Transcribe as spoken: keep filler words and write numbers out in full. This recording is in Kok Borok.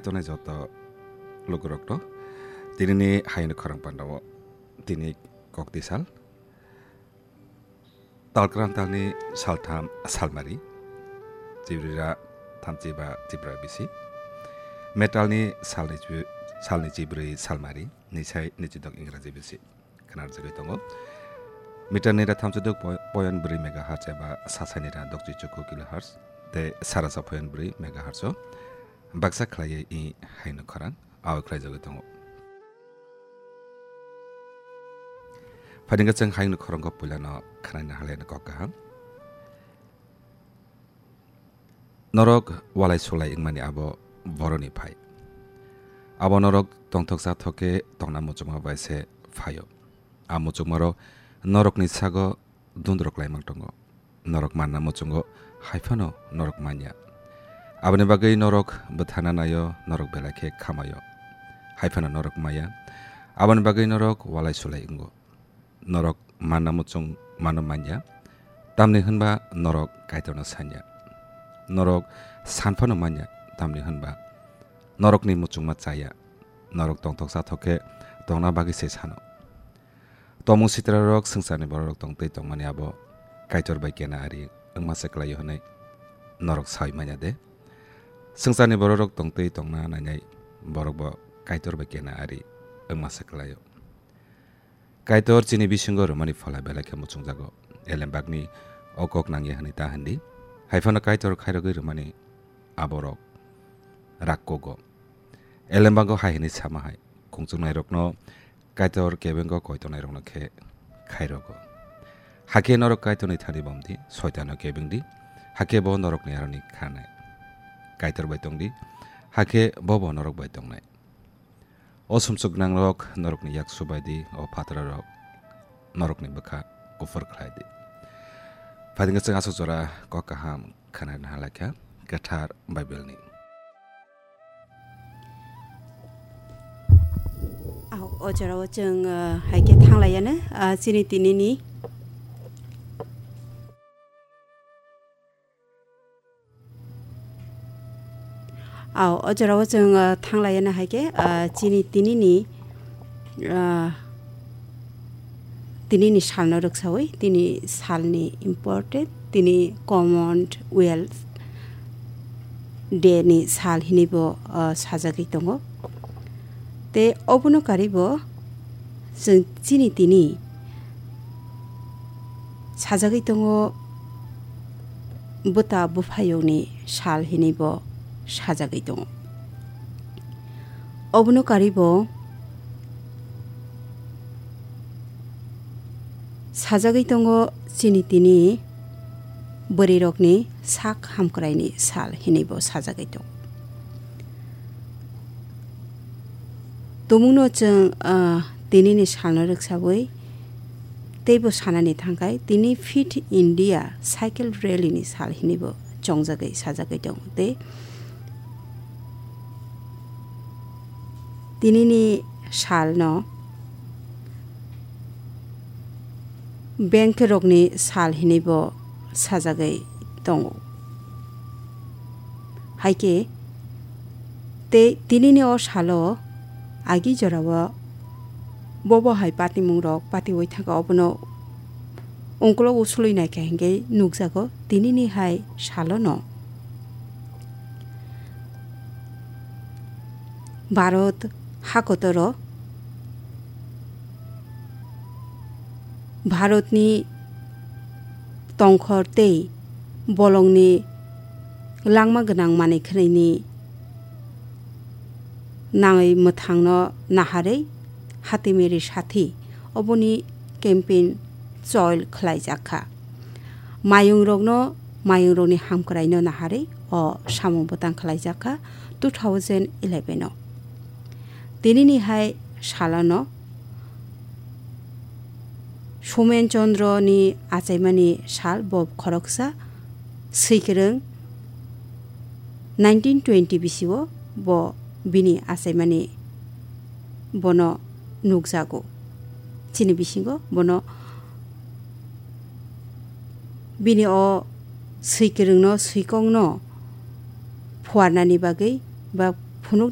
Tongnai joto lukurokno tinini hayungni khorang pandao tini kokti sal. Talkran talni saltham salmari, Chibrira thamchi ba Chibra bisi. Metalni salni chu-, salni chibrwi salmari, nisai nichidok Ingraji bisi. Khnarjagwi tongo. Meter ni ra thamchi dok po-, point bwrwi megahertz eba sasai ni ra dokchi chuku kilohertz tei sarasa point bwrwi megahertz o baksa khlaiwi i hayungni khorang ao khlaijagwi tongo. Phainwkha chwng hayungni khorang kok puilano khnaina halai no kok kaham. Norok walai sulai wngmani abo boroni phai. Abo norok tongthoksa thok khe tongna muchungma bai se phaio. A muchungmarok norokni sago dundrok laimang tongo. Norok manna muchungo, hai phano norok manya. Aboni bagwi norok bwthana naio, norok belai khe khamaio. Hai phano norok maya. Aboni bagwi norok walai sulai wngo. Norok manna muchung mano manya, tamni hwnba norok Kaitorno sanya. Norok san phano manya, tamni hwnba norokni muchungma chaya. Norok tongthoksa thok khe tongna bagwi se sano. Tomung sitrarok swngcharni bororok tongtwi tongmani abo Kaitor bai kena ari wngma se kwlaio hwnwi norok saui manya de? Swngcharni bororok tongtwi tongna nainai borokbo Kaitor bai kena ari wngma se kwlaio. Kaitor chini bisingo rwmani phola belai khe muchungjago. Elembakni o kok nangya hwnwi ta hwn di. Hai phano Kaitor khairogwi rwmani aborok rakkogo. Elembago hai hwnwi sama hai, khungchuknairokno Kaitor kebengo koitonairokno khe khairogo. Hakhe norok Kaitorni thani bom di, Soitano kebeng di, hakhe bo norokni aroni khanai. Kaitor bai tong di, hakhe bo bo norok bai tongnai. O sumsok gwnangrok norokni yak subai di, o phatrarok norokni bwkha kuphur khlai di. Phaidingkhe chwng aswk jora kok kaham khwnarina halai kha kwthar Bible ni. Au, o jorao chwng, uh, hai khe thanglaiano, uh, chini tinini. Au, o jorao chwng, uh, thanglaiano hai khe, uh, chini tinini, uh, tinini salno rwksawi, tini salni important, tini Commonwealth Day ni sal hinwi bo, uh, sajagwi tongo. Tei obono karwi bo chwng chini tini sajagwi tongo, bwta bwphayokni sal hinwi bo sajagwi tongo. Obono karwi bo sajagwi tongo chini tini bwrwirokni sak hamkraini sal hinwi bo sajagwi tongo. Tumungno chwng, ah, tinini salno rwksawi teibo sanani thangkhai, tini Fit India Cycle Rally ni sal hinwi bo chongjagwi sajagwi tongo tei tinini salno bank rokni sal hinwi bo sajagwi tongo. Hai khe tei tinini o salo agi jorao bobo hai patimung rok patiwi thangkha, obono ungkulok usulwi naikha hinkhe nukjago tinini hai salono. Bharat hakotoro Bharatni tongkhor tei bolongni langma gwnang manwi khwnwini nangwi mwthangno naharwi Hati Meri Sathi oboni campaign choil khlaijak kha. Mayungrokno, mayungrokni hamkraino naharwi o samung bwtang khlaijak kha two thousand eleven o. Tinini hai salano Somen Chandra ni achaimani sal bo khoroksa swikwrwng nineteen twenty bisio bo bini achaimani bono nukjago. Chini bisingo bono bini o swikwrwngno, swikokno phuarnani bagwi ba